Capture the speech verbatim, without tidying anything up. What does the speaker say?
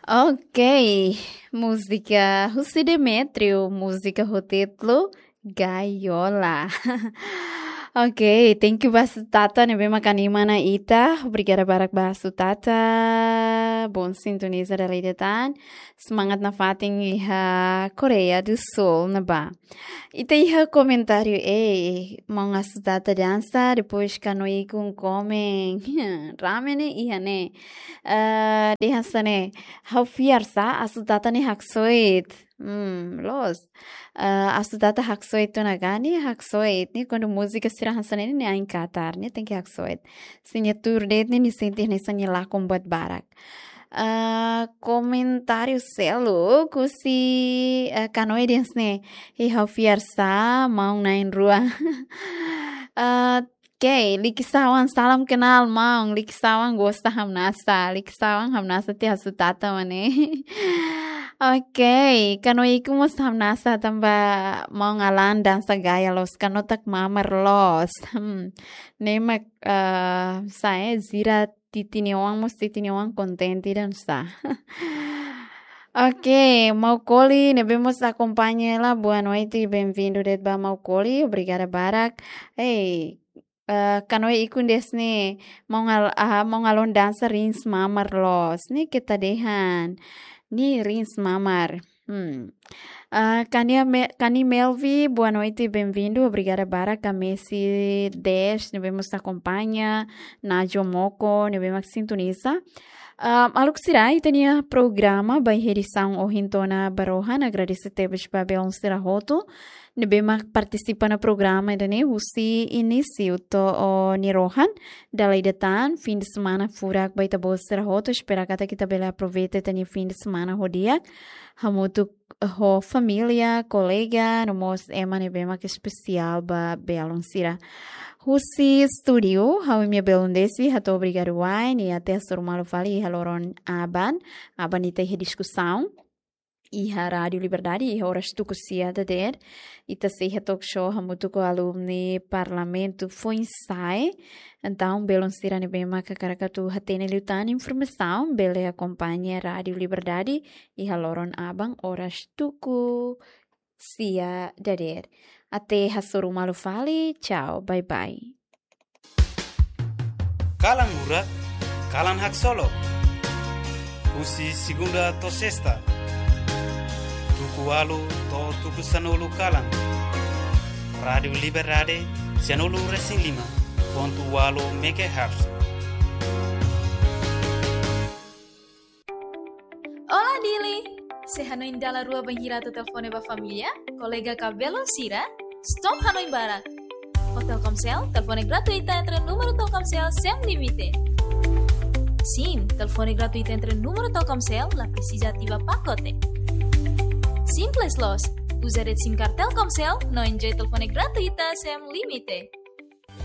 Ok, múzika husi Demetrio, múzika ho títulu Gaiola. Ok, thank you ba Sutata ne'ebé mak anima ona ita. Obrigada barak ba Sutata. Bom sintoniza dala ida tan. Semangat nafatin iha Koreia do Sul ne'ebá. Ita iha komentáriu, eh, maun Asutata dansa, depois Kanoe Ikun komen. Rame ne'e iha ne'e. Eh, dehan hanesan ne'e, ha'u fiar sá, Asutata ne'e haksoit. Hmm, loos. Eh, Asutata haksoit ona ka, ne'e haksoit. Ne'e kuandu múzika sira hanesan ne'e, ne'e ain katar, ne'e tenke haksoit. Se nia tuur de'it ne'e, nia sente hanesan nia lakon buat barak. Ah, komentáriu seluk husi, ah, Kanoe dehan hanesan ne'e, ha'u fiar sá, maun na'in-rua. Ah, ok, Liksawan, salam kenal, maun. Liksawan gosta hamnasa. Liksawan hamnasa tiha Sutata mak ne'e. Ok, Kanoe Ikun mós hamnasa tanba maun Alan dansa gaya loos, kanotak mamar loos. Hmm, ne'e mak, ah, sá, eh, Zira Titini Oan mós, Titini Oan kontente dansa. Ok, Maukoli, ne'ebé mós akompaña hela, boa noite, bem-vindo de'it ba Maukoli, obrigada barak. Ei, eh, Kanoe Ikun dehan hanesan ne'e, maun Al-, ah, maun Alon dansa rins mamar loos, ne'e keta dehan, ne'e rins mamar. Hmm. Ah, Kania Me-, Kani Melvi, boa noite, bem-vindo. Obrigada barak, Kamesi Des, ne'ebé mós akompaña, Najo Moko, ne'ebé mak sintoniza. Ah, maluk sira, ita-nia programa ba iha edisaun ohin to'o ona ba rohan, agradese tebes ba belun sira hotu ne'ebé mak partisipa iha programa ida-ne'e husi inísiu to'o nia rohan. Dala ida tan, fim de semana furak ba ita-boot sira hotu, espera katak ita bele aproveita ita-nia fim de semana ho di'ak, hamutuk ho família, kolega, no mós ema ne'ebé mak espesiál ba belun sira. Husi estúdiu, ha'u-nia belun Desi, hato'o obrigadu wa'in, i até hasoru malu fali iha loron aban, aban ita iha diskusaun iha Rádio Liberdade, iha oras tuku sia dadeer. Ita sei iha talk show hamutuk ho alumni Parlamentu Foinsa'e. Entaun, belun sira ne'ebé mak hakarak atu hatene liután informasaun, bele akompaña Rádio Liberdade iha loron aban oras tuku sia dadeer. Até hasoru malu fali, tchau, bye bye. Kalan Murak, kalan haksolok. Husi segunda to'o sesta, tuku ualu to'o tuku sanulu kalan. Rádio Liberdade, sianulu resin lima pontu ualu megahertz. Olá, Dili! Sei hanoin dala rua bainhira atu telefone ba família, kolega ka belun sira? Stop hanoin barak! Ho Telkomsel, telefone gratuita entre númeru Telkomsel sem limite. Sim, telefone gratuita entre númeru Telkomsel, la presiza ativa pakote. Simples loos, uza de'it SIM card Telkomsel, no enjoy telefone gratuita sem limite.